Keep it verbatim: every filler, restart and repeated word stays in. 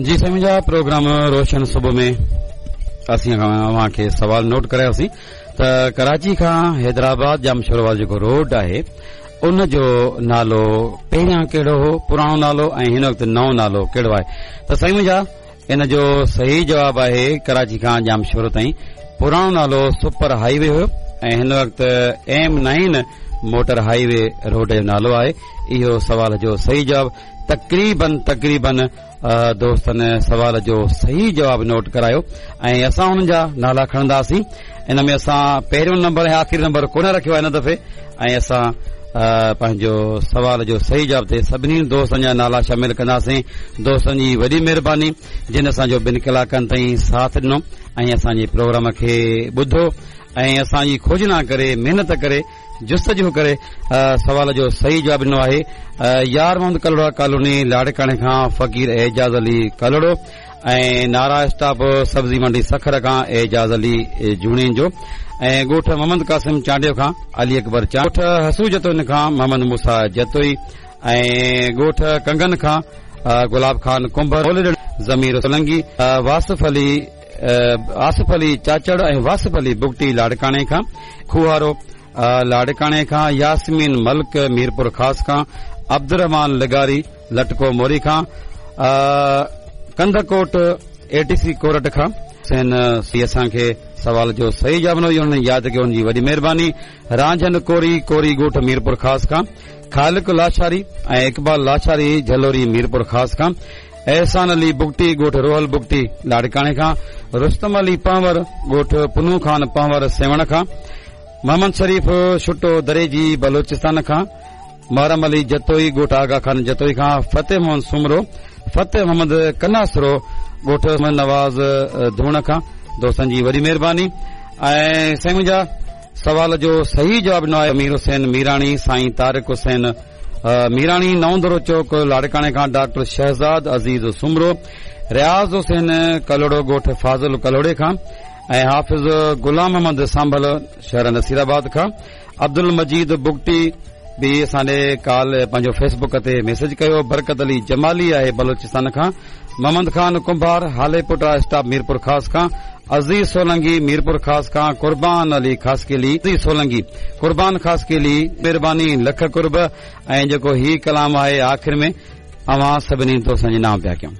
जी साईं मुंहिंजा प्रोग्राम रोशन सुबुह में असीं अव्हां खे सवाल नोट करायोसीं त कराची खां हैदराबाद जामशोरो वारो जेको रोड आहे उन जो नालो पहिरियां कहिड़ो हो, पुराणो नालो ऐं हिन वक़्तु नओं नालो कहिड़ो आहे। त साईं मुंहिंजा इन जो सही जवाब आहे कराची खां जामशोरो ताईं पुराणो नालो सुपर हाई वे हुयो ऐं हिन वक़्तु M nine motor highway road जो नालो आहे। इहो सवाल जो सही जवाब तक़रीबन तक़रीबन दोस्तनि सवाल जो सही जवाब नोट करायो ऐं असां उन्हनि जा नाला खणंदासीं। इन में असां पहिरियों नंबर ऐं आख़िरी नंबर कोन रखियो आहे हिन दफ़े ऐं असां पंहिंजो सवाल जो सही जवाब ते सभिनी दोस्तनि जा नाला शामिल कंदासीं। दोस्तनि जी वॾी महिरबानी जिन असांजो ॿिनि कलाकनि ताईं साथ ॾिनो ऐं असांजे प्रोग्राम खे ॿुधो ऐं असांजी खोजना करे महिनत करे जुस्तजू करे सवाल जो सही जवाब ॾिनो आहे। यार मोहम्मद कलोड़ा कॉलोनी लाड़काणे खां फ़क़ीर एजाज़ अली कलोड़ो ऐं नारा स्टॉप सब्ज़ी मंडी सखर खां एजाज़ अली जुणेजो ऐं ॻोठ मोहम्मद कासिम चांडियो खां अली अकबर ॻोठ हसू जतोई खां मोहम्मद मूसा जतोई ऐं ॻोठ कंगन खां गुलाब खान कुंभर ज़मीर सोलंगी वासिफ अली आसिफ अली चाचड़ ऐं वासिफ अली बुगटी लाड़काणे खां खुहारो लाड़काणे खां यास्मीन मलिक मीरपुर ख़ास खां अब्दुलरहमान लिगारी लटको मोरी खां कंधकोट एटीसी कोरट खां हुसैन सी असांखे सवाल जो सही जवाब ॾिनो, हुननि यादि कयो, हुनजी वॾी महिरबानी। रांझन कोरी कोरी ॻोठ मीरपुर ख़ास खां खालिक लाशारी ऐं इक़बाल लाशारी झलोरी मीरपुर ख़ास खां एहसान अली बुगटी ॻोठ रोहल बुगटी लाड़काणे खां रुस्तम अली पंवर ॻोठ पुनू खान पंवर सेवण खां मोहम्मद शरीफ छुटो दरेजी बलोचिस्तान खां मुहर्रम अली जतोई ॻोठ आगा खान जतोई खां फतेह मोहम्मद सुमरो फतेह मोहम्मद कनासरो ॻोठ नवाज़ धूण खां। दोस्तनि जी वॾी महिरबानी। ऐं साईं मुंहिंजा सवाल जो सही जवाब ॾिनो आहे मीर हुसैन मीराणी साईं तारिक हुसैन मीराणी नओंदरो चौक लाड़काणे खां डॉक्टर शहज़ाद अज़ीज़ सुमरो रियाज़ हुसैन कलोड़ो ॻोठ फाज़िल कलोड़े खां ऐं हाफ़िज़ गुलाम मोहम्मद सांभल शहर नसीराबाद खां अब्दुल मजीद बुगटी बि असां ॾे काल पंहिंजो फेसबुक ते मैसेज कयो। बरकत अली जमाली आहे बलोचिस्तान खां मोहम्मद खान कुंभार हालेपुटा स्टॉप मीरपुर ख़ास खां अज़ीज़ सोलंगी मीरपुर ख़ास खां कुर्बान अली ख़ासकेली अज़ीज़ सोलंगी कुर्बान ख़ासकेली महिरबानी लख कुर्ब। ऐं जेको ही कलाम आहे आख़िर में अव्हां सभिनी दोस्तनि जे नाम पिया कयूं।